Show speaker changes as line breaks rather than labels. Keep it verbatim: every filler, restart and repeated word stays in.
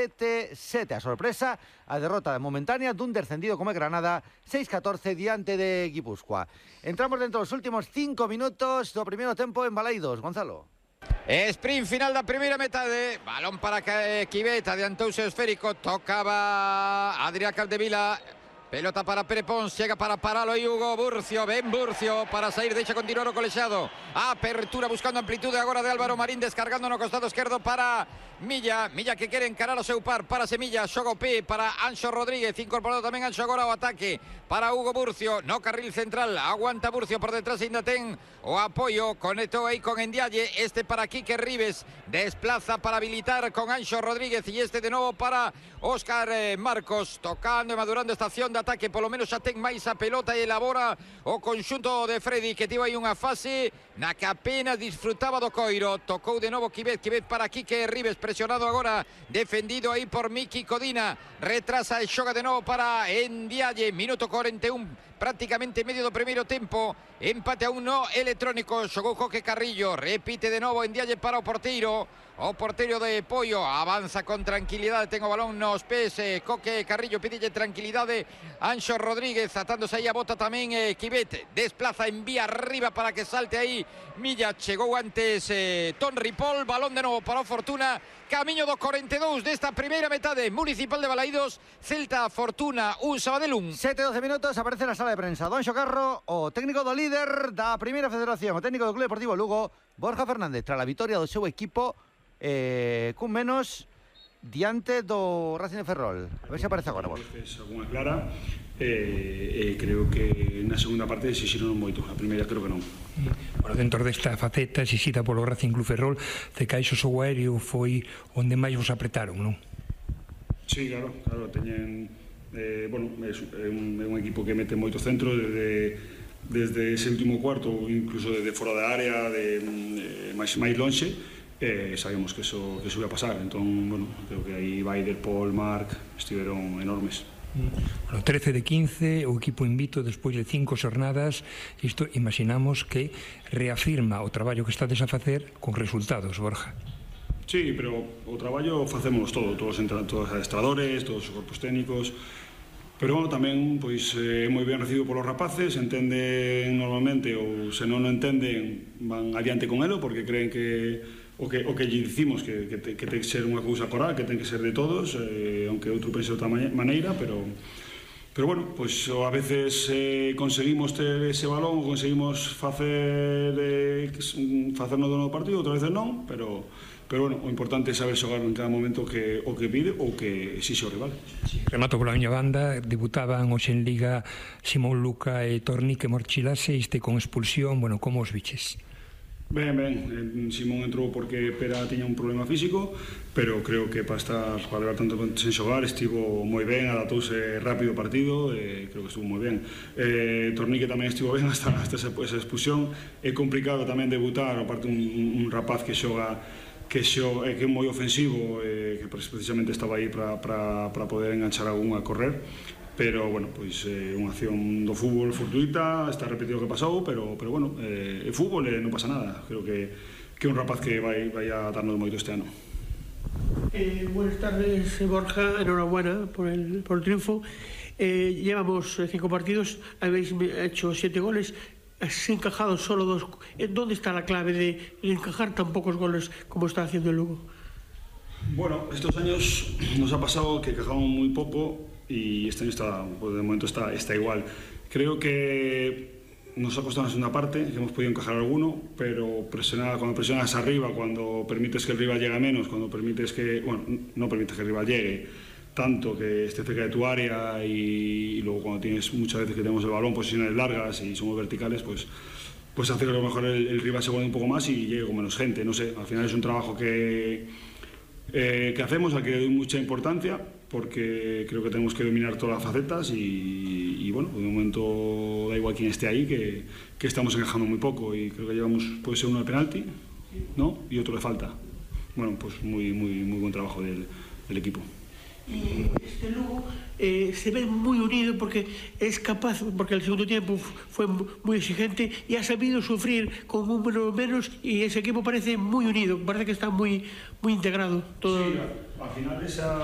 sete sete. A sorpresa, a derrota momentánea dun descendido como Granada, seis catorce diante de Guipúzcoa. Entramos dentro dos últimos cinco minutos do primeiro tempo en Balaidos. Gonzalo.
Sprint final da primeira metade. Balón para Quivet, adiantouse o esférico, tocaba Adrián Capdevila. Pelota para Pere Pons, llega para paralo e Hugo Burcio, ben Burcio para sair, deixa continuar o colexado. Apertura buscando amplitude agora de Álvaro Marín, descargando no costado esquerdo para Milla. Milla que quere encarar o seu par, para Semilla, xoga o pé para Anxo Rodríguez, incorporado tamén Anxo agora ao ataque para Hugo Burcio, no carril central, aguanta Burcio por detrás, ainda ten o apoio, conectou aí con Endialle, este para Quique Ribes, desplaza para habilitar con Anxo Rodríguez e este de novo para Óscar eh, Marcos, tocando e madurando esta acción de ataque, polo menos xa ten máis a pelota e elabora o conxunto de Freddy, que tivo aí unha fase na que apenas disfrutaba do coiro. Tocou de novo Quivet, Quivet para Quique Ribes, presionado agora, defendido aí por Miki Codina, retrasa e xoga de novo para Endialle, minuto cuarenta y uno, prácticamente medio do primeiro tempo, empate a un no electrónico, xogou Coque Carrillo, repite de novo Endialle para o porteiro, o porteiro de Pollo, avanza con tranquilidade, ten o balón nos pés, eh, Coque Carrillo pidille tranquilidade, Anxo Rodríguez atándose aí a bota tamén, eh, Quivet, desplaza, envía arriba para que salte aí Milla, chegou antes eh, Ton Ripoll, balón de novo para o Fortuna, camiño do cuarenta y dos desta primeira metade, Municipal de Balaidos, Celta Fortuna, un Sabadell un.
sete doce minutos, aparece na sala de prensa Don Xocarro, o técnico do líder da primeira federación, o técnico do Club Deportivo Lugo, Borja Fernández, tras a vitória do seu equipo eh, cun menos diante do Racing de Ferrol. A ver se aparece agora, Borja.
É unha clara, e eh, creo que na segunda parte exixiron moito, a primeira creo que non.
Bueno, dentro desta faceta exixida polo Racing Club Ferrol, Cecaixo o aéreo foi onde máis vos apretaron, non?
Sí, claro, claro, teñen eh, bueno, é un, é un equipo que mete moito centro desde, desde ese último cuarto, incluso desde fora da área, de, de máis, máis lonxe, eh, sabemos que eso, que eso ia pasar, entón, bueno, creo que aí Baider, Paul, Marc estiveron enormes.
Bueno, trece de quince, o equipo invito despois de cinco xornadas, isto imaginamos que reafirma o traballo que estades a facer con resultados, Borja.
Sí, pero o traballo facemos todo, todos os adestradores, todos os corpos técnicos, pero bueno, tamén pois é eh, moi ben recibido polos rapaces, entenden normalmente, ou se non o entenden van adiante con elo, porque creen que o que, o que lle dicimos que, que, te, que ten que ser unha cousa coral, que ten que ser de todos, eh, aunque outro pense de outra maneira, pero pero bueno, pois a veces eh, conseguimos ter ese balón, conseguimos facer eh, facernos do novo partido, outras veces non, pero pero bueno, o importante é saber xogar en cada momento que, o que pide ou que exixe o rival.
Sí, remato pola miña banda, debutaban hoxe en Liga Simón Luca e Tornique Morchilase, este con expulsión, bueno, como os biches?
Ben, ben, Simón entrou porque Pera tiña un problema físico, pero creo que para estar, para levar tanto sen xogar estivo moi ben, adaptouse rápido o partido, eh, creo que estuvo moi ben. eh, Tornique tamén estivo ben hasta, hasta esa, esa expulsión. É complicado tamén debutar, aparte un, un rapaz que xoga que, xo, eh, que é moi ofensivo, eh, que precisamente estaba aí para, para, para poder enganchar algún a correr, pero, bueno, pois é eh, unha acción do fútbol fortuita, está repetido o que pasou, pero, pero bueno, é eh, fútbol e eh, non pasa nada. Creo que que é un rapaz que vai, vai a darnos moito este ano.
Eh, buenas tardes, Borja, enhorabuena por el, por el triunfo. Eh, llevamos cinco partidos, habéis hecho siete goles, has encajado solo dos. ¿Dónde está la clave de encajar tan pocos goles como está haciendo el Lugo?
Bueno, estos años nos ha pasado que encajamos muy poco y este año está, pues de momento está, está igual. Creo que nos ha costado en la segunda parte, que hemos podido encajar alguno, pero presionar, cuando presionas arriba, cuando permites que el rival llegue menos, cuando permites que, bueno, no permites que el rival llegue tanto, que esté cerca de tu área, y, y luego cuando tienes muchas veces que tenemos el balón, posiciones largas y somos verticales, pues pues hace que a lo mejor el, el rival se vuelva un poco más y llegue con menos gente, no sé, al final es un trabajo que eh, que hacemos, al que le doy mucha importancia, porque creo que tenemos que dominar todas las facetas y, y bueno, de momento da igual quién esté ahí, que, que estamos encajando muy poco y creo que llevamos, puede ser uno de penalti, ¿no? Y otro de falta. Bueno, pues muy, muy, muy buen trabajo del, del equipo.
Y este Lugo eh, se ve muy unido porque es capaz, porque el segundo tiempo fue muy exigente y ha sabido sufrir con un menos menos y ese equipo parece muy unido, parece que está muy, muy integrado todo.
Sí, al final esa